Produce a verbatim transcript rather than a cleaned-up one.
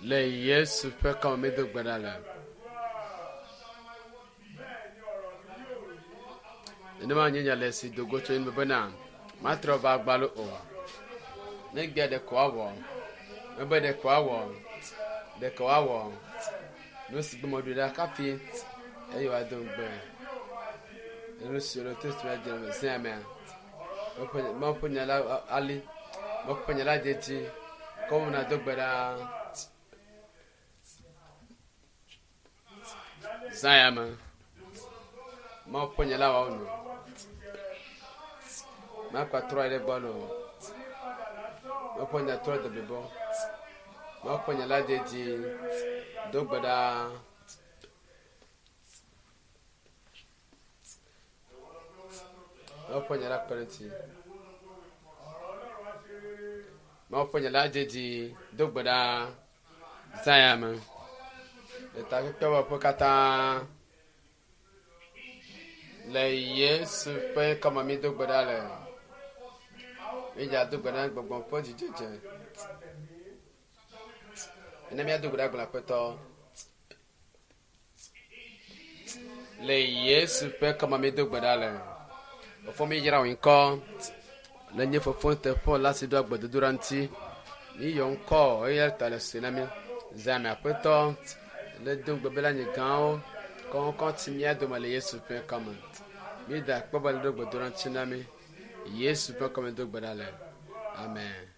Le Yesu ƒe kɔme mi do gbe ɖa le. Nenema nye nya le si do go tso enu bena matrɔ va gbalo o. Ne gbea ɖeko woawɔ. Mebe ɖeko woawɔ. Ɖeko woawɔ. Nu si gbe meɖo ɖa kafi eye wòado ŋugbe. Nu si wòle to si dze le zea mea. Mawu ƒe nya la ali. Mawu ƒe nya la dze dzi. Kɔmu na do gbe ɖa. Zã ya me. Mawu ƒe nya la wɔwɔ nu. Makpa trɔ ɖe gbɔ lo. Mawu ƒe nya trɔ de blibo. Mawu ƒe nya la dze dzi. Do gbe ɖa. Mawu ƒe nya la kpe ɖe ŋuti. Mawu ƒe nya la dze dzi. Do gbe ɖa. Zã ya me. Le takpekpe wɔƒe katã. Le Yesu ƒe kɔme mi do gbe ɖa le. Mídza do gbe ɖa gbɔgbɔ ƒe dzidzedze. Ene míado gbe ɖa gblɔ aƒetɔ. Le Yesu ƒe kɔme mi do gbe ɖa le. Fofo mi yra wò ŋkɔ. Le nye fofo teƒe la si ɖo agbedodoɖa ŋuti. Mi yɔ ŋkɔ eya ta le se na mi. Zã me aƒetɔ. Le do ŋugbe be la nye gãwo. Kɔŋkɔ ti mía dome le Yesu ƒe kɔme. Mi da akpɔ be le ɖo gbedodoɖa ŋuti na mi. Yesu ƒe kɔme do gbe ɖa le. Amen.